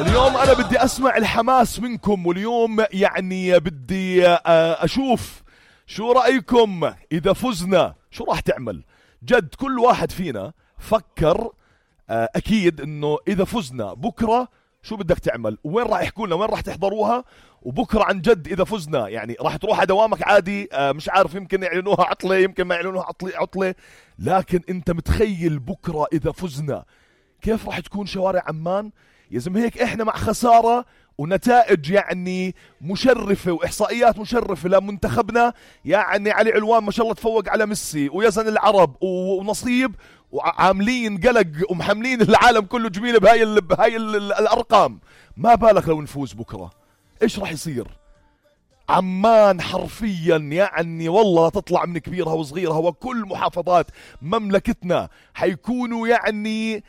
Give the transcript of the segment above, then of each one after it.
اليوم أنا بدي أسمع الحماس منكم، واليوم يعني بدي أشوف شو رأيكم إذا فزنا شو راح تعمل. جد كل واحد فينا فكر أكيد إنه إذا فزنا بكرة شو بدك تعمل، وين راح يحكوا لنا، وين راح تحضروها، وبكرة عن جد إذا فزنا يعني راح تروح على دوامك عادي. مش عارف، يمكن يعلنوها عطلة، يمكن ما يعلنوها عطلة، لكن أنت متخيل بكرة إذا فزنا كيف راح تكون شوارع عمان؟ يا زلمة هيك إحنا مع خسارة ونتائج يعني مشرفة وإحصائيات مشرفة لمنتخبنا، يعني علي علوان ما شاء الله تفوق على ميسي ويزن العرب ونصيب، وعاملين قلق ومحملين العالم كله جميلة بهاي الأرقام. ما بالك لو نفوز بكرة إيش راح يصير؟ عمان حرفيا يعني والله تطلع من كبيرها وصغيرها، وكل محافظات مملكتنا حيكونوا يعني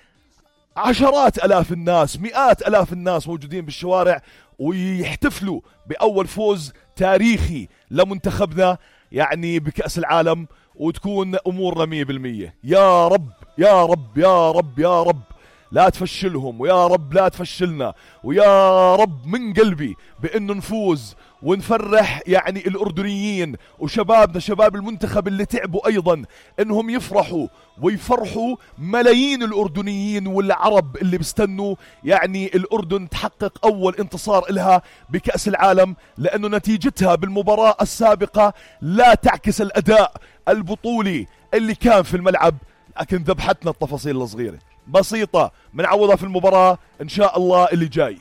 عشرات ألاف الناس، مئات ألاف الناس موجودين بالشوارع ويحتفلوا بأول فوز تاريخي لمنتخبنا يعني بكأس العالم، وتكون أمورنا 100%. يا رب يا رب يا رب يا رب لا تفشلهم، ويا رب لا تفشلنا، ويا رب من قلبي بأنه نفوز ونفرح يعني الأردنيين وشبابنا، شباب المنتخب اللي تعبوا أيضا، إنهم يفرحوا ويفرحوا ملايين الأردنيين والعرب اللي بيستنوا يعني الأردن تحقق أول انتصار إلها بكأس العالم، لأنه نتيجتها بالمباراة السابقة لا تعكس الأداء البطولي اللي كان في الملعب، لكن ذبحتنا التفاصيل الصغيرة بسيطة، منعوضها في المباراة إن شاء الله اللي جاي.